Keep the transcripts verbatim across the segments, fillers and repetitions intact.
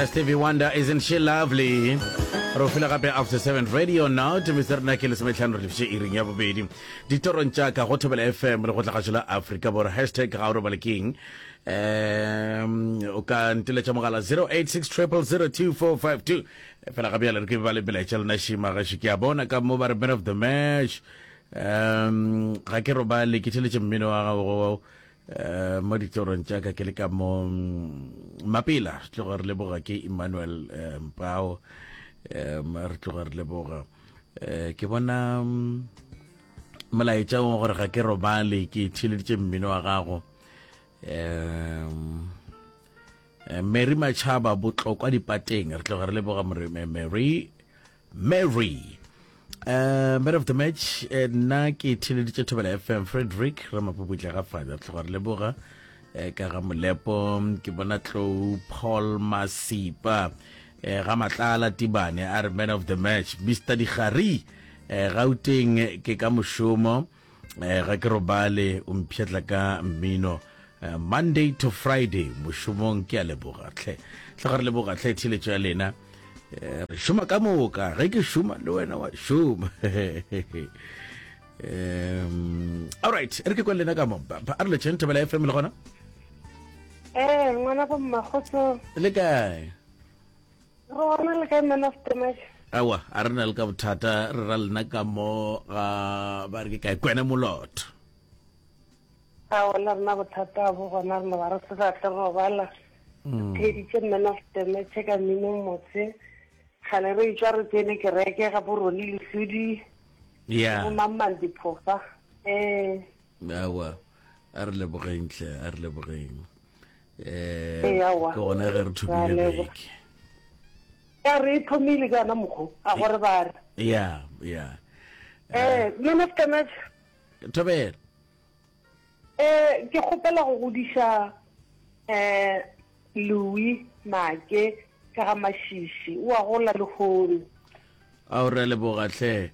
Stevie Wonder, isn't she lovely? Re fila gape after seven radio now to Mister rena ke lesometlhano re lefiše iring ya bobedi ditorong tša ka go Thobela F M le go tla la Afrika Borwa. Hashtag ga o robale keng? um o ka nteletša mogala zero eight six triple zero two four five two. Fela ga bjale re ke ba le melaetša lena šima gaše. Ke a bona ka mo ba re man of the match, um ga ke robale, ke theletše mmino wa gago um mo ditorong tša ka ke le ka mo mm, mapela. Re tloga re leboga ke Emmanuel eh, Mpao. um re tloga re leboga. um ke bona mm, molaetša wa gore ga ke robale, ke theleditše mmino wa gago. um Mary Machaba Botlokwa dipateng, re tloga re leboga more- Mary. Mary, uh, man of the match, eh, nna ke theleditše Thobela F M, Frederick Ramapuputla ga fada. Re tloga re leboga eh, ka ga Molepo. Ke bona Tlou Paul Masipa eh, ga Matlala Tibane a re man of the match Mister Digari, eh, Gauteng, ke ka mošomo, eh, ga ke robale, o mpšhetla ka mmino eh, Monday to Friday mošomong. Ke a leboga tlhe, tle ga re leboga tlhe theletšo ya lena. Eh, re šoma ka moka, ge ke šoma le wena wa šoma. um all right, re ke kwa lena ka mo. Ba- ba- a re letšheng Thobela F M le gona. Ee, ngwana bo mmakgotso. Le kae? Re gona, le kae, man of the match? Awa, a re na le ka bothata, re ra lena ka mo ga ba re ke kae kwena molotho. A ona rena bothata bo gona, re no ba re se sa tle robala. Theeditše man of the match ka mmino motse gale, re etswa re tsene kereke ga borone lesodi. Ya. Bo mamang diphofa ee. Awa, a re lebogeng tle, a re lebogeng. Ee, um aowa. Ke gona ge re thomile Ra leboga. beke. Ya, re e thomile ka yona mokgo a gore ba re ya ya ee, man of the match. Thobela. um ke kgopela go godiša um Louis Make ka ga Mašiši, o a gola lehono. A o re leboga tlhe,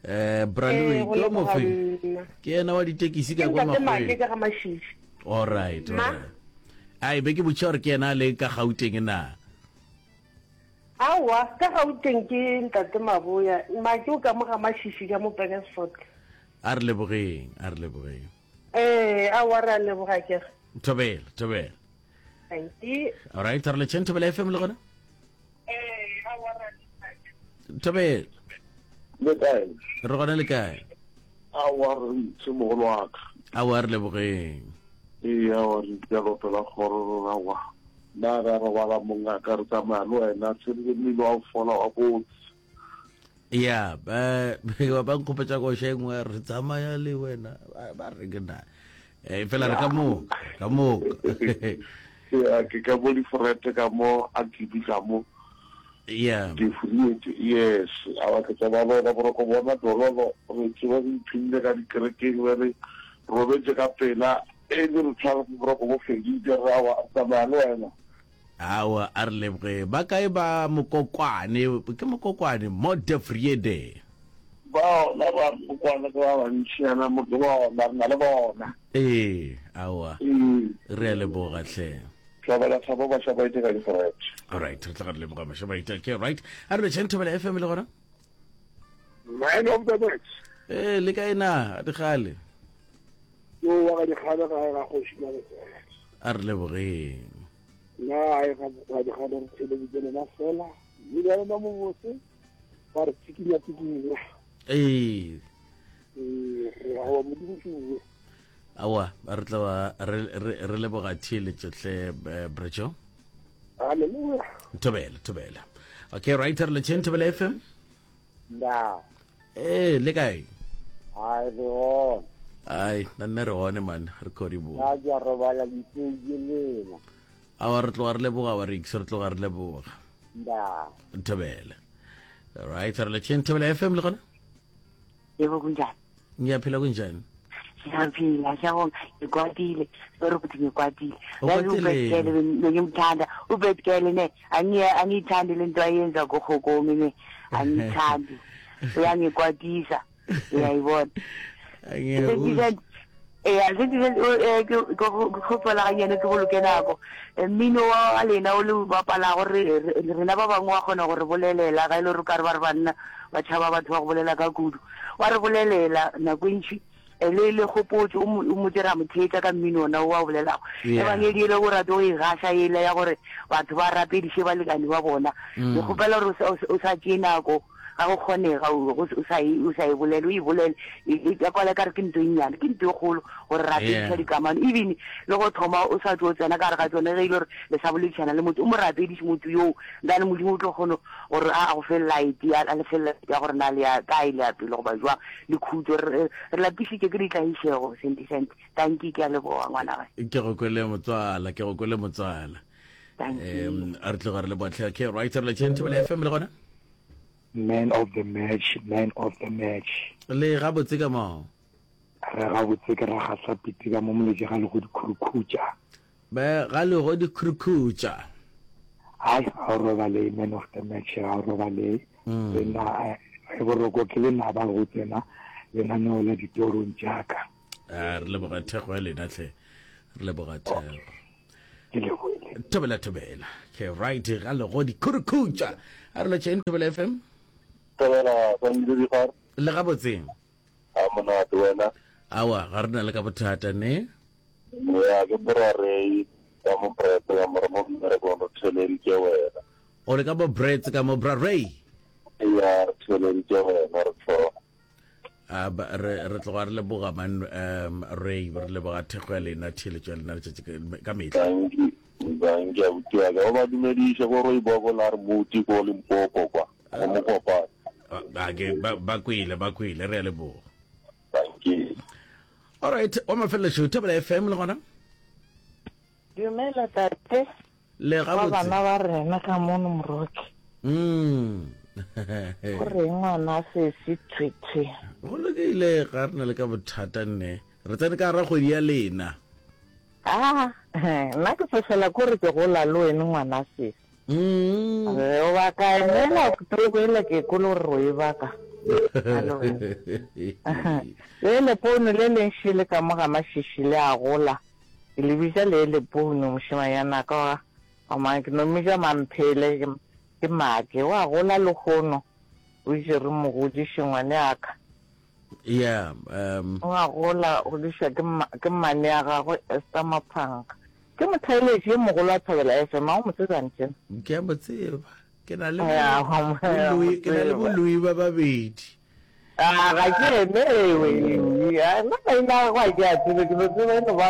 um bra Ee, Louis. go Ke o leboga mofeng? nna. Ke yena wa ditekisi Ke ka kwa ntate Make Makgweng? ka ga Mašiši. All right. Ma? Alright, ai be ke botša gore ke yena a le ka Gauteng na? Aowa, ka Gauteng ke ntate Maboya. Make o ka mo ga Mašiši ka mo Pekersford. A re lebogeng, a re lebogeng. Ee, aowa, re a leboga kere. Thobela, thobela. Thank you. All right, re letšheng Thobela F M le gona. Ee, aowa, re a leboga. Thobela. Le kae? Re gona, le kae? Aowa, re ntse, mogolo wa ka. Aowa, re lebogeng. Ee, aowa, re ntse lopela kgoro rona wa nna re a robala, mongaka, re tsamaya le wena tshedile mmino wa go fola wa botse. Ya, ba ba nkgopetša koša e nngwe, re tsamaya le wena, ba ba re ke na. Eh, fela re ka moka ka moka. Ya, ke ka mo diforete ka mo a kibi ka mo. Ya. Ke furietse, yes. Aowa, ke tsamaya le wena, boroko bona dololo, re tseba re iphinnne ka dikerekeng, be re robetse ka pela e le re tshwara boroko bo fedile, re aowa, re tsamaya le wena. Aowa, a re leboge. Ba kae ba Mokokwane? Ke Mokokwane mo Defriede. Ba ona ba Mokokwane ke ba bantši yana mo, ke bona re na le bona. Ee, aowa. Ee. Re a leboga tlhe. Tlabela thabo Mashabaite ka diforete. Alright, re tla re leboga Mashabaite. Okay, right, a re letšheng Thobela F M le gona. Man of the match. Ee, le kae na dikgale? Yo wa ga dikgale ga ga kgoši Mabetsela. A re lebogeng. Nna ai ga ga dikgale, re theleditse lena fela mme ya lena mo botse ba re tsikinya tsikinya. Ee. Ee, re awa, Modimo ke bue. Aowa, re tla ba re re- re leboga theeletšo tle, eh, brejo. Halleluja. Thobela, thobela. Okay, right, re letšheng Thobela F M. Na. Ee, le kae? Ai, re gona. Ai, nna nne re gone man, re kgodibo. Nna ke a robala ditseie lena. Aowa, re tloga re leboga wa rix, re tloga re leboga. Nda. Thobela. Right, re letšheng Thobela F M le gona. Yebo, kunjani? Ngiyaphila, kunjani? Ngiyaphila, siyabonga. Ngikwatile, sorry ukuthi ngikwatile. Yazi. Ukwateleni? Ubethkele bengimthanda ubethkele ne, angiye angiyithandi lento ayenza kuhokomi ne, angiyithandi, uyangikwatisa, uyayibona. Ngiyakuzwa. Eya, se ke eh, ke ke go- ke kgopela gannyane ke boloke nako. Eh, Mmino wa lena o le o bapalago re re- rena ba bangwe wa kgona go re bolelela ga e le gore o ka re ba re banna ba tšhaba batho ba go bolela ka kudu. Wa re bolelela nako e ntši eh, le le kgopotšo o mo o motse ra mo theetša ka mmino ona o a o bolelago. Yeah. Ebangedi ele o rate go e gaša ele ya gore batho ba rapediše balekane ba bona. Ke kgopela gore o sa- o sa- o sa tšee nako ga go kgonega o go o sa e o sa e bolele o e bolele e e ka kwala ka re ke ntho e nnyane ke ntho e kgolo gore rapediša Yeah. dikamano even le go thoma o sa tlo tsena ka gare ga tsone ge e le gore le sa boledišana le motho o mo rapediše motho yoo then modimo o tlo kgona gore a a go fe light a a le fe light ya gore na le ya kae le ya pele goba jwang le khutso re re lapišitše ke ditlaišego senti senti tanki ke a leboga ngwana gae Ke go kwele motswala, ke go kwele motswala. tanki Um a re tloga re le botlhe. Okay, right, re le tšheng Thobela F M le gona. Man of the match, man of the match. Le gabotse ka moo. Re gabotse ke ra gasa piti ka mo moletše ga le go dikhurukhutša. Ba ga le go dikhurukhutša. Ai, ga o robale man of the match, ga o robale. Lena e boroko ke lenaba go tsena lenaneo la ditorong tša ka. A re leboga thekgo ya lena tlhe. Re leboga thekgo. Ke lebohile. Thobela thobela. Okay, right, ga le go dikhurukhutša. A re lotšheng Thobela F M. Thobela, Sandile Dikgare. Le gabotse. A monate wena. Awa, ga re na le ka bothata ne. Ya ke borarei ka mo prep ya mo re mo mmerekong re theleditše wena. O le ka bo Brits ka mo Brarei. Ya re theleditše wena re tlhoga. A ba re re tloga re leboga man um Ray, re leboga thekgo ya lena theeletšo ya lena letšatši ka- ka mehla. Danki, danki abuti wa ka. O ba dumediše ko Rooiboko la re muti ko Limpopo kwa. Go Mokopane. A ke ba ba kwele ba kwele re a leboga. Danki. All right, wa mafelelo Thobela F M le gona. Dumela tate Le wa gabotse. bana ba rena ka mono Moroke. Mm. O reng ngwana sesi thwe thwe. Go lokile ga re na le ka bothata nne. Re tsene ka gara kgwedi ya lena. Ah, nna ke fofela kore ke gola le wene ngwana sesi. Mm. Re o baka emela October ele ke kolo gore o e baka. Le le pono le leng šele ka mo ga mašiši le a gola. Ke le bitša le le pono mošemanyana ka wa wa ma ke no mmitša Mamphele ke ke make wa gola lehono o itše re mo godiše ngwane aka. Yeah, um Wa gola o godišwa ke ma ke mmane ya gagwe Esther Maphanka. Ke motheeletši yo mogolo wa Thobela F M, a o mo tseba ntšena? Ke a mo tseba. Ke na le Ya, wa mo bo Louis, ke na le bo tseba. Louis ba babedi. Ah, ga ke ene ewe, ah, nna maina a gagwe a ke a tsebe, ke no tseba e no ba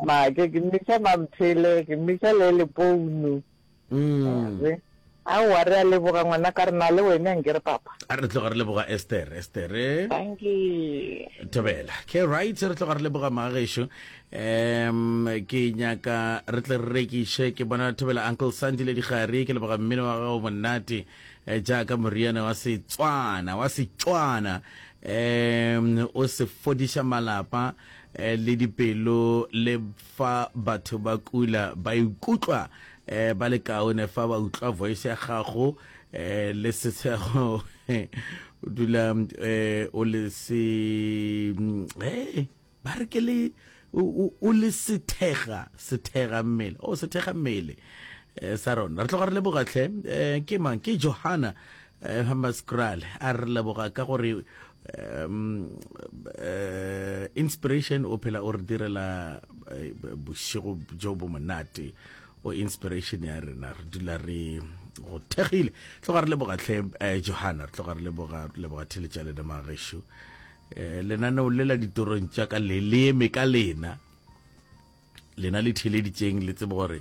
make, ke mmitša Mamphele, ke mmitša le Lepounu. Mm. Re, aowa, re a leboga ngwana ka rena le wena nke re papa. A re tloga re leboga Esther, Esther. Thank you. Thobela. Okay, right, re tloga re leboga magešo. Um ke nyaka re tle re rekiše ke bona Thobela Uncle Sandy le Digare ke leboga mmino wa gago monate eh, jaaka moriana wa Setswana wa Setswana um o se fodiša malapa eh, le dipelo le fa batho ba kula ba ikutlwa eh, ba le kaone fa ba utlwa voice ya gago eh, le setshego o dula eh, o le se eh, ba re ke le o o le sethega sethega mmele o sethega mmele eh, sa rona re tloga re leboga tlhe eh, ke mang ke Johanna eh, Hammanskraal a re leboga ka gore um eh, inspiration o phela o re direla eh, bošego jo bo monate o inspiration ya rena re dula re go thegile tloga re leboga tlhe eh, Johanna re tloga re leboga re leboga theletša lena magešo eh, lenaneo le la ditorong tša ka le le eme ka lena lena le theleditšeng le tsebe gore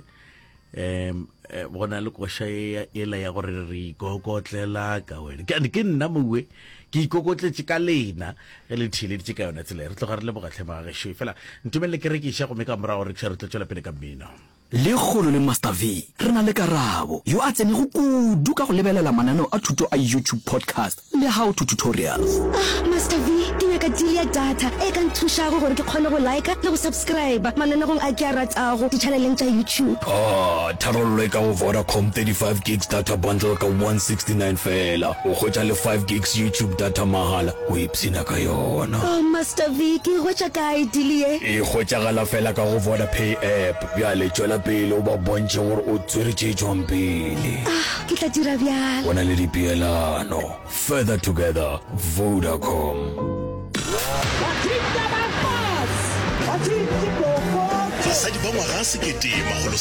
um go na le koša e- ela ya gore re ikokotlela ka wena ke ke nna mowe ke ikokotletše ka lena ge le theleditše ka yona tsela e. Re tloga re leboga tlhe magešo fela ntumelele ke rekiša gomme ka morago rekiša re tlo tšwela pele ka mmino. Lekgolo le Master V re na le Karabo yo a tsenego kudu ka go lebelela mananeo a thuto a YouTube podcast le how to tutorials. Ah, Master V, ke nyaka nyaka deal ya data e ka nthušago gore ke kgone go liker le go subscriber mananegong a ke a ratago ditšhaneleng tša YouTube. Ah, tharollo e ka go Vodacom thirty five gigs data bundle ka one sixty nine feela. O hwetša le five gigs YouTube data mahala, o ipshina ka yona. Oh Master V, ke e hwetša kae deal ye? E hwetšagala feela ka go Vodapay app. Bjale tšwela pele o ba bontšhe gore o tswere tše tšwang pele. Ah, ke tla dira bjalo. Go na le dipeelano. Further together, Vodacom. Basadi ba ngwaga sekete makgolo